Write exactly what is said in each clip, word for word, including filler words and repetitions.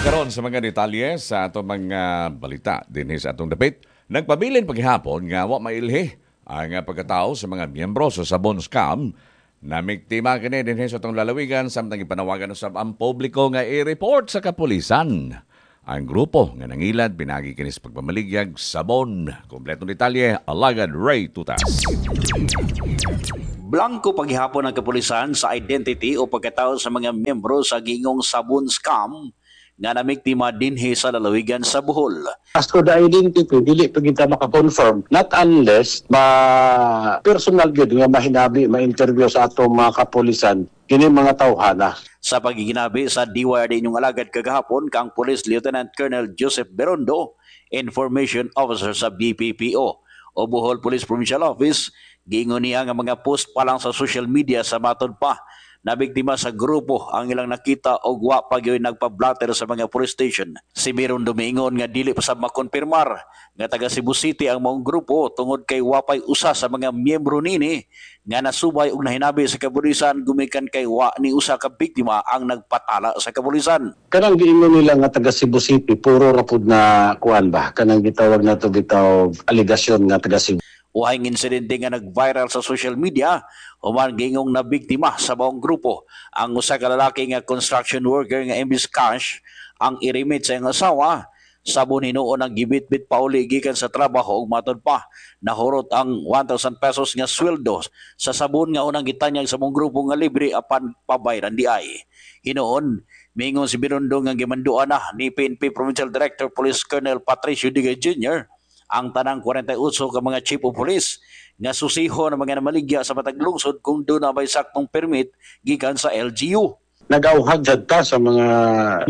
Karon sa mga detalye sa atong mga balita dinhi sa atong dapit, nagpabilin paghihapon nga wa mailhi ang pagkatao sa mga miyembro sa Sabon Scam na biktima kini dinhi sa atong lalawigan, samtang ipanawagan usab ang publiko nga i-report sa kapulisan ang grupo nga nangilad pinagi kini sa pagpamaligyag sabon. Kompletong detalye, alagad Ray Tutas. Blanko paghihapon ang kapulisan sa identity o pagkatao sa mga miyembro sa gingong sabon scam nga namiktima dinhi sa lalawigan sa Bohol. As to the identity, dili pa kita maka-confirm not unless ma personal gyud nga mahinabi, ma-interview sa atong mga kapulisan kini mga tawhana. Sa pagiginabi sa D Y R D inyong alagad kagahapon kang Police Lieutenant Colonel Joseph Berondo, Information Officer sa B P P O o Bohol Police Provincial Office, giingon niya nga mga post pa lang sa social media sa matod pa na biktima sa grupo ang ilang nakita og wa pa gyud nagpa-blotter sa mga police station. Si Berondo miingon nga dili pa sa makonfirmar nga taga Cebu City ang maong grupo tungod kay wa pay usa sa mga miyembro nini nga nasubay og nahinabi sa kapulisan gumikan kay wa ni usa ka biktima ang nagpatala sa kapulisan. Kanang giingon nila nga taga Cebu City, puro ra pud na kuan ba, kanang gitawag na to bitaw alegasyon nga taga Cebu. Uhay insidente nga nag-viral sa social media human gingong na biktima sa maong grupo ang usa ka lalaki nga construction worker nga imbis cash ang i-remit sa iyang asawa, sabon hinuon ang gibitbit pauli gikan sa trabaho ug matod pa nahurot ang one thousand pesos nga sweldo sa sabon nga unang gitanyag sa maong grupo nga libre apan pabayran di ay. Hinuon, mingon si Birundo nga gimanduan na ni P N P Provincial Director Police Colonel Patricio Digay Junior ang tanang kwarenta y otso ka mga chief of police nga susiho ng mga namaligya sa matag lungsod kung duna may saktong permit gikan sa L G U. Nag-auhag jud ta sa mga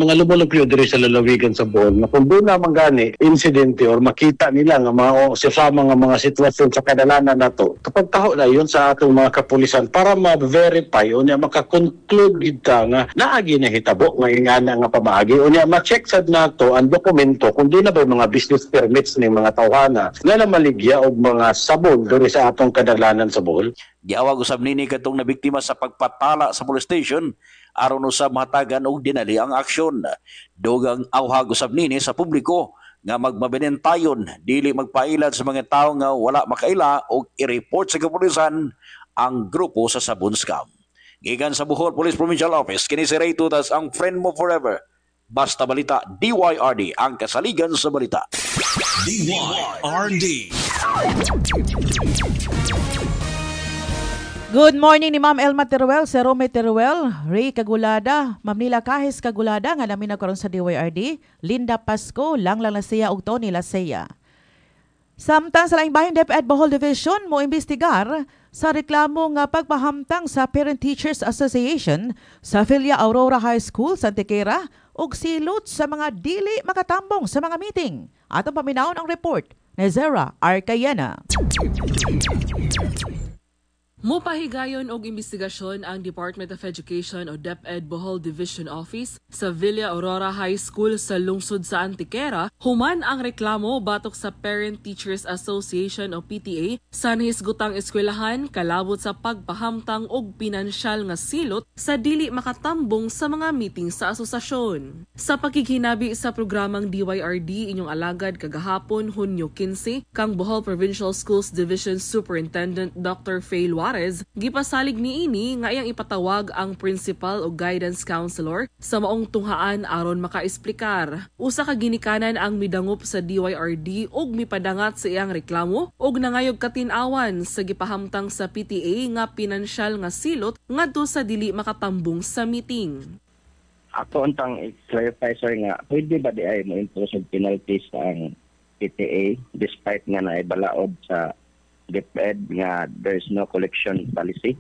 mga lumulupyo diri sa lalawigan sa Bohol na kung duna man gani insidente or makita nila nga mga o sa mga mga sitwasyon sa kadalanan nato, kapag taho na yun sa atong mga kapulisan para ma-verify o niya maka-conclude gid ta nga naagi na hitabo nga ingana nga pamaagi o niya ma-check sad nato ang dokumento kung duna ba mga business permits ning mga tawhana nga namaligya og mga sabon diri sa atong kadalanan sa Bohol. Giawag usab nini kadtong nabiktima sa pagpatala sa police station aron usab mahatagan og dinali ang aksyon. Dugang awhag usab nini sa publiko nga magmabinentayon, dili magpailad sa mga tawo nga wala makaila og i-report sa kapulisan ang grupo sa sabon scam. Gikan sa Bohol Police Provincial Office, kini si Ray Tutas, ang friend mo forever. Basta balita, D Y R D, ang kasaligan sa balita. D Y R D. Good morning ni Ma'am Elma Teruel, Sir Rome Teruel, Ray Kagulada, Ma'am Nila Kahis Kagulada nga namin karon sa D Y R D, Linda Pasco, Langlang Lasea ug Tony Lasea. Samtang sa laing bahin, DepEd Bohol Division mo imbestigar sa reklamo nga pagpahamtang sa Parent Teachers Association sa Villa Aurora High School sa Antequera ug silot sa mga dili makatambong sa mga meeting. Atong paminawon ang report ni Zera Arcayena. Mupahigayon og investigasyon ang Department of Education o DepEd Bohol Division Office sa Villa Aurora High School sa lungsod sa Antequera human ang reklamo batok sa Parent Teachers Association o P T A sa nahisgutang eskwelahan kalabot sa pagpahamtang og pinansyal nga silot sa dili makatambong sa mga meeting sa asosasyon. Sa pakighinabi sa programang D Y R D inyong alagad kagahapon, Hunyo kinse, kang Bohol Provincial Schools Division Superintendent Doctor Faye Luarez, gipasalig niini nga iyang ipatawag ang principal o guidance counselor sa maong tunghaan aron makaesplikar. Usa ka ginikanan ang midangop sa D Y R D ug mipadangat sa iyang reklamo ug nangayog katin-awan sa gipahamtang sa P T A nga pinansyal nga silot ngadto sa dili makatambong sa meeting. Ako untang i-clarify, sir, nga pwede ba di ay mo impose og penalties ang P T A despite nga naibalaod sa DepEd nga there's no collection policy?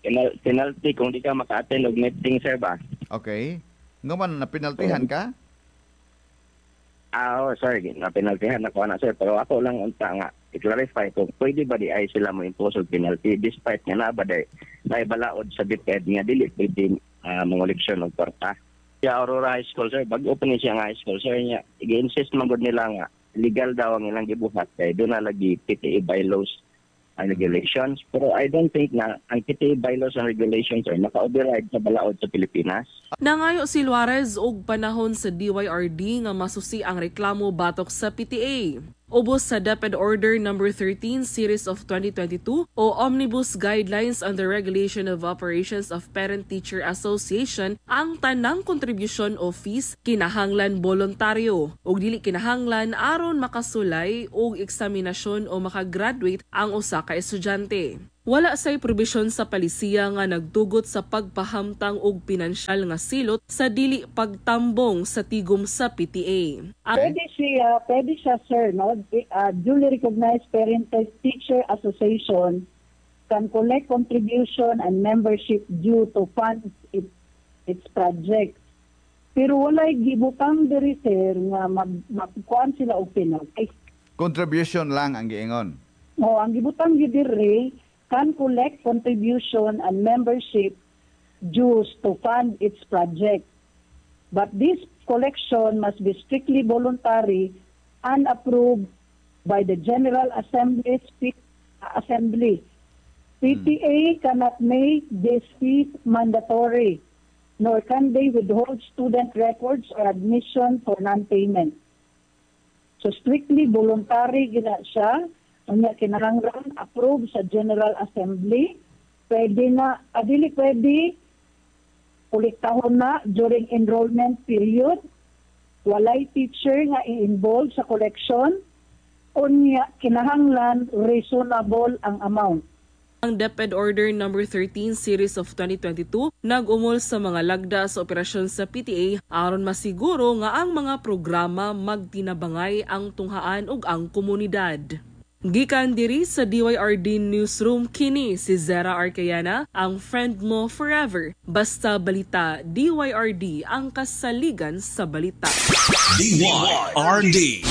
Penal- penalty kung di ka maka-attend og meeting, sir ba? Okay. Nga man napinaltihan ka? Ah, oh, sorry, na penaltyhan ako na, sir, pero ako lang unta nga i-clarify kung pwede ba di ay sila mo impose og penalty despite nga na ba di naibalaod sa DepEd nga dili pwede uh, mangoleksyon og kwarta. Sa Aurora High School, sir, bag-o pa ni siya nga high school, sir, niya i-insist man gud nila nga legal daw ang ilang gibuhat kay duna lagi P T A bylaws. and regulations. Pero I don't think na ang P T A bylaws and regulations ay naka-override sa balaod sa Pilipinas. Nangayo si Luarez og panahon sa D Y R D nga masusi ang reklamo batok sa P T A. Ubos sa DepEd Order Number thirteen Series of twenty twenty-two o Omnibus Guidelines on the Regulation of Operations of Parent-Teacher Association, ang tanang kontribusyon o fees kinahanglan boluntaryo ug dili kinahanglan aron makasulay og eksaminasyon o makagraduate ang usa ka estudyante. Wala say probisyon sa palisiya nga nagtugot sa pagpahamtang og pinansyal nga silot sa dili pagtambong sa tigom sa P T A. Ang Pwede siya, pwede siya, sir, no? Uh, duly recognized Parent Teacher Association can collect contribution and membership due to fund it, its project. Pero walay gibutang diri, sir, nga mag makukuan sila og penalty. Contribution lang ang giingon. O ang gibutang gyud diri, can collect contribution and membership dues to fund its project. But this collection must be strictly voluntary and approved by the General Assembly. Assembly. P T A cannot make this fees mandatory, nor can they withhold student records or admission for non-payment. So strictly voluntary gina siya. Unya kinahanglan approve sa General Assembly. Pwede na, adili pwede kolektahon na during enrollment period. Walay teacher nga i-involve sa collection. Unya kinahanglan reasonable ang amount. Ang DepEd Order Number thirteen Series of twenty twenty-two nag-umol sa mga lagda sa operasyon sa P T A aron masiguro nga ang mga programa magtinabangay ang tunghaan ug ang komunidad. Gikan diri sa D Y R D Newsroom, kini si Zera Arcayana, ang friend mo forever. Basta balita, D Y R D ang kasaligan sa balita. D Y R D.